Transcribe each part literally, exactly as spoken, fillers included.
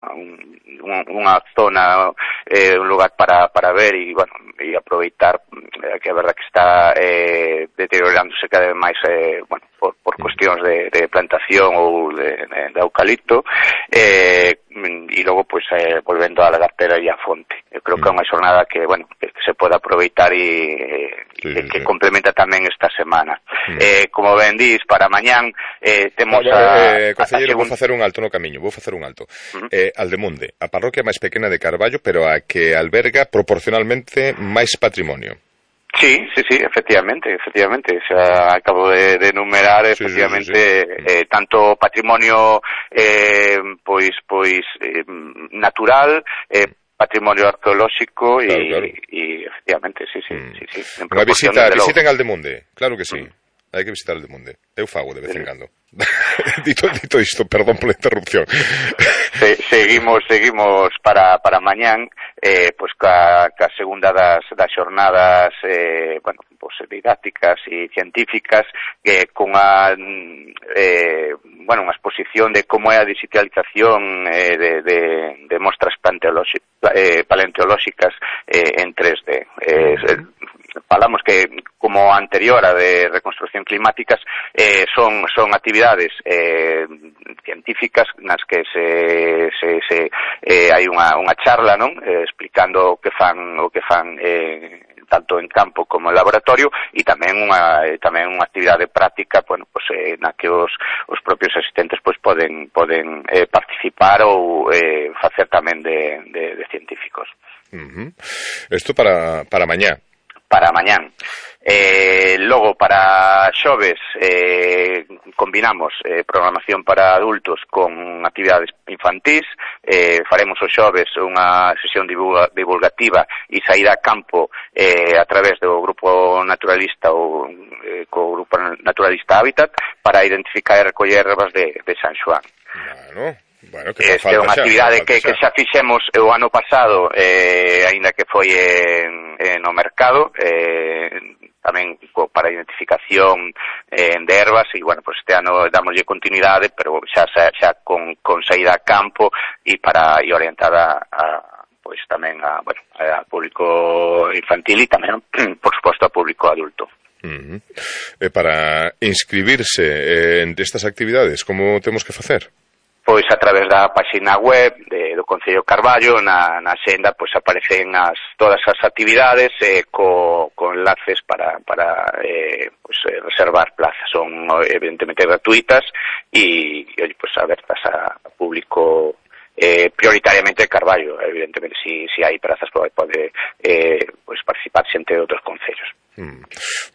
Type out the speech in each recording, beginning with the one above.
un, unha zona, eh, un lugar para, para ver e, bueno, e aproveitar eh, que a verdad que está eh, deteriorándose cada vez máis, eh, bueno, por, por cuestións de, de plantación ou de, de, de eucalipto, eh, e logo, pois, eh, volvendo á lagartera e á fonte. Eu creo que é unha xornada que, bueno, que, que se pode aproveitar e, sí, e que sí. complementa tamén esta semana. Mm. Eh, como ben dís, para mañán eh, temos ah, a... Eh, concelleiro, segun... vou facer un alto no camiño, vou facer un alto. Uh -huh. eh, Aldemunde, a parroquia máis pequena de Carballo, pero a que alberga proporcionalmente máis patrimonio. Sí, sí, sí, efectivamente, efectivamente, xa acabo de, de enumerar, sí, efectivamente, sí, sí, sí. Eh, tanto patrimonio eh, pois pois eh, natural, eh, patrimonio arqueolóxico e, claro, claro. e efectivamente, sí, sí, mm. sí, sí. Unha visita, visita en Aldemunde, claro que sí. Mm. Hai que visitar Aldemunde. Eu fago de vez en cando. dito, dito isto, perdón pola interrupción. Se, seguimos seguimos para, para mañán, eh, pues ca, ca segunda das, das xornadas eh, bueno, pues, didácticas e científicas, que con a eh, bueno, unha exposición de como é a digitalización eh, de, de, de mostras eh, paleontolóxicas eh, en tres D. Eh, falamos que, como anterior a de reconstrucción climáticas, eh, son son actividades eh, científicas nas que se, se, se eh, hai unha, unha charla, non? Eh, explicando o que fan o que fan eh, tanto en campo como en laboratorio, e tamén unha tamén unha actividade práctica, bueno, pues eh, na que os os propios asistentes pois poden poden eh, participar ou eh, facer tamén de, de, de científicos. Uh-huh. Isto para para mañá. Para mañán. Eh, logo, para xoves, eh, combinamos eh, programación para adultos con actividades infantís. Eh, faremos os xoves unha sesión divulga, divulgativa e saída a campo eh, a través do grupo naturalista ou eh, co grupo naturalista Hábitat para identificar e recoller ervas de, de San Xoán. Bueno... Bueno, que Esta é unha actividade que, que xa fixemos o ano pasado, eh, aínda que foi en, en no mercado, eh, tamén para identificación eh, de ervas, e, bueno, pues este ano damoslle continuidade, pero xa, xa, xa con, con saída a campo e para e orientada a, pois tamén a, bueno, a público infantil e tamén, por suposto, a público adulto. Uh-huh. E para inscribirse en estas actividades, como temos que facer? Pois a través da página web de, do Concello Carballo, na, na xenda, pois aparecen as, todas as actividades eh, co, co enlaces para, para eh, pois, eh, reservar plazas. Son evidentemente gratuitas e, e pois, abertas a, a público eh, prioritariamente de Carballo. Evidentemente, si, si hai plazas pode, pode eh, pois, participar xente de outros concellos. Mm.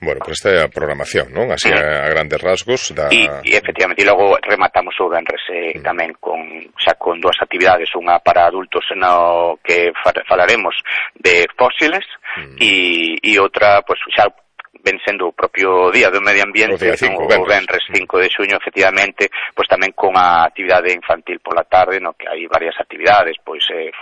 Bueno, pues esta é a programación, non? Así mm. a, a grandes rasgos da... E, e efectivamente, e logo rematamos o venres eh, mm. tamén con, xa con dúas actividades, unha para adultos no que falaremos de fósiles mm. e, e outra, pues xa ven sendo o propio Día do Medio Ambiente, o, cinco, no, o venres cinco de xuño, efectivamente, pois tamén con a actividade infantil pola tarde, no que hai varias actividades, pois eh,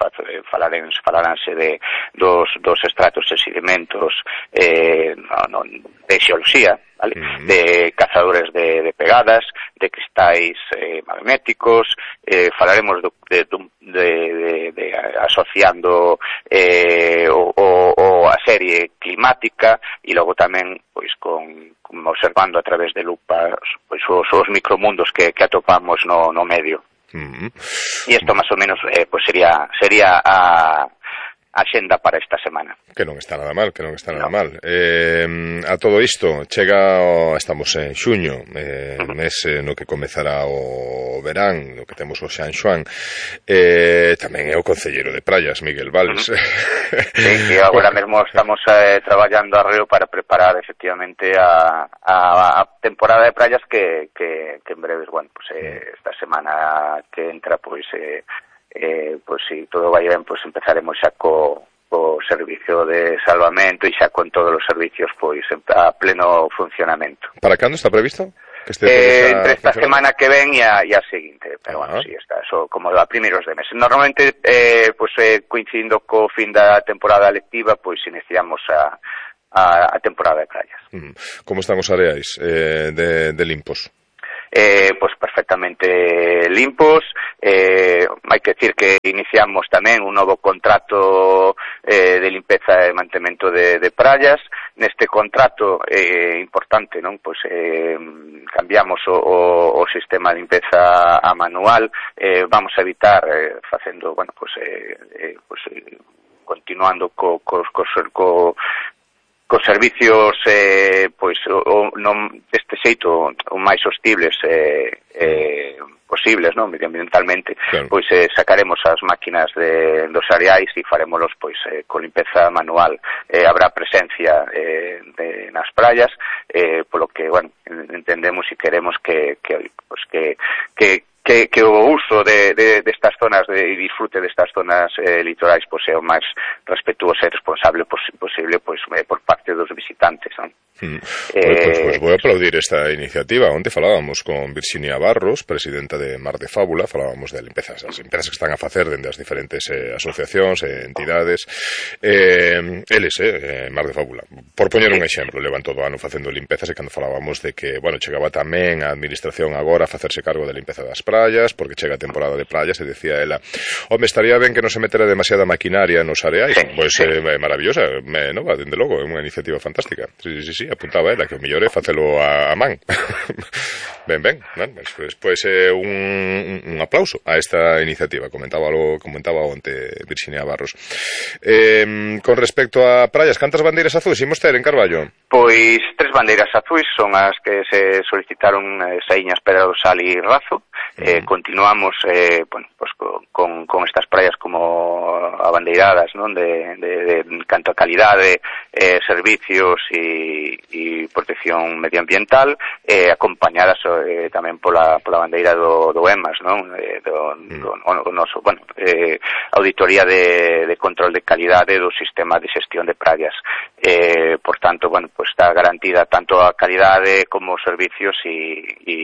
falaremos, falaránse de dos, dos estratos e sedimentos eh, no, no, de xeoloxía, vale? Uh-huh. De cazadores de, de pegadas, de cristais eh, magnéticos, eh, falaremos do, de, de, de, de asociando eh, o, o, o a serie climática e logo tamén pois con, con observando a través de lupas pois os, os micromundos que, que atopamos no, no medio. Uh-huh. E isto máis ou menos eh, pois sería sería a axenda para esta semana. Que non está nada mal, que non está nada no. mal. Eh, a todo isto, chega, o, estamos en xuño, eh, uh-huh. mes eh, no que comezará o verán, no que temos o San Xoán, eh, tamén é o concelleiro de Praias, Miguel Valls. Uh-huh. Sí, que agora mesmo estamos eh, traballando arreo para preparar efectivamente a, a, a temporada de praias que, que, que en breves, bueno, pues eh, esta semana que entra, pues eh, Eh, pois si todo vai ben, pois empezaremos xa co, co servicio de salvamento e xa con todos os servicios pois a pleno funcionamento. Para cando está previsto? Que este eh, entre esta semana que ven e a, e a seguinte, pero uh-huh. bueno, si sí, está eso como a primeiros de mes. Normalmente eh, pois eh, coincidindo co fin da temporada lectiva, pois iniciamos a, a, a temporada de praias. Mm. Como están os areais eh, de, de limpos? eh, pues perfectamente limpos. Eh, hai que decir que iniciamos tamén un novo contrato eh, de limpeza e mantemento de, de praias. Neste contrato eh, importante, non? Pois eh, cambiamos o, o, o sistema de limpeza a manual, eh, vamos a evitar eh, facendo, bueno, pois eh, eh, pois, eh, continuando co, co, co, co cos servicios eh, pois o, non deste xeito o máis hostibles eh, eh, posibles, non, medioambientalmente, claro. Pois eh, sacaremos as máquinas de, dos areais e farémolos pois eh, con limpeza manual. Eh, habrá presencia eh, de, nas praias, eh, polo que, bueno, entendemos e queremos que que pois que que Que, que o uso de, de, de estas zonas de, e disfrute destas zonas eh, litorais pois, é o máis respetuoso e responsable pos, posible pois, eh, por parte dos visitantes, non? Mm. Eh, bueno, pues, pues voy a aplaudir esta iniciativa. Onte falábamos con Virxinia Barros, presidenta de Mar de Fábula, falábamos de limpezas, as limpezas que están a facer dende as diferentes eh, asociacións e eh, entidades. Eh, eles, eh, Mar de Fábula, por poñer un exemplo, levan todo o ano facendo limpezas, e cando falábamos de que, bueno, chegaba tamén a administración agora a facerse cargo da limpeza das praias, porque chega a temporada de praias, e decía ela, home, estaría ben que non se metera demasiada maquinaria nos areais. Sí, pois pues, sí. eh, maravillosa, me, no, dende logo, é unha iniciativa fantástica. Sí, sí, sí, apuntaba ela, que o mellor é facelo a, a man. ben, ben, ben, pues, pues eh, un, un aplauso a esta iniciativa, comentaba lo, comentaba onte Virxinia Barros. Eh, con respecto a praias, cantas bandeiras azuis imos ter en Carballo? Pois tres bandeiras azuis son as que se solicitaron eh, Saíñas, Pedra do Sal e Razo. Eh, continuamos eh, bueno, pues con, con estas praias como abandeiradas, non? De, de, de, de canto a calidade, eh, servicios e, e protección medioambiental, eh, acompañadas eh, tamén pola, pola bandeira do, do E M A S, non? Eh, do, do, do noso, bueno, eh, auditoría de, de control de calidade do sistema de xestión de praias. Eh, por tanto, bueno, pues está garantida tanto a calidade como os servicios e, e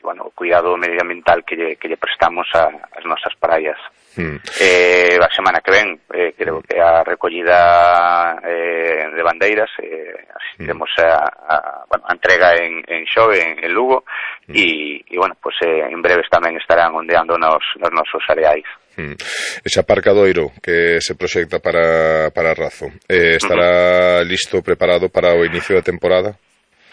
bueno, o cuidado medioambiental que lle, que lle prestamos a, as nosas praias. Mm. Eh, a semana que ven eh, creo que a recollida eh, de bandeiras eh, asistiremos mm. a, a, bueno, a entrega en, en Xove, en, en Lugo e mm. bueno, pues eh, en breves tamén estarán ondeando nos, nos nosos areais. Mm. Ese aparcadoiro que se proxecta para, para Razo eh, estará uh-huh. listo, preparado para o inicio da temporada?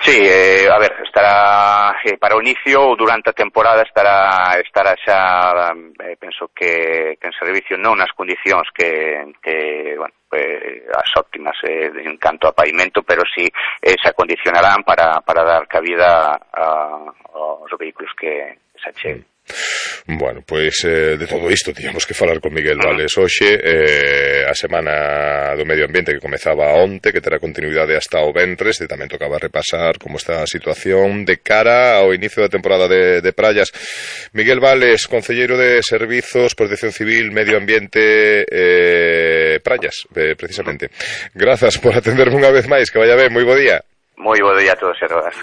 Sí, eh, a ver, estará eh, para o inicio ou durante a temporada estará estará xa, eh, penso que, que en servicio non nas condicións que, que bueno, eh, as óptimas eh, en canto a pavimento, pero sí eh, se acondicionarán para, para dar cabida a, aos vehículos que se acheguen. Bueno, pois eh, de todo isto tiñamos que falar con Miguel Vales hoxe, eh, a semana do medio ambiente que comezaba onte, que terá continuidade hasta o ventres, e tamén tocaba repasar como está a situación de cara ao inicio da temporada de, de praias. Miguel Vales, concelleiro de Servizos, Protección Civil, Medio Ambiente, eh, praias, eh, precisamente. Grazas por atenderme unha vez máis, que vaya ben, moi bo día. Moi bo día a todos e todas.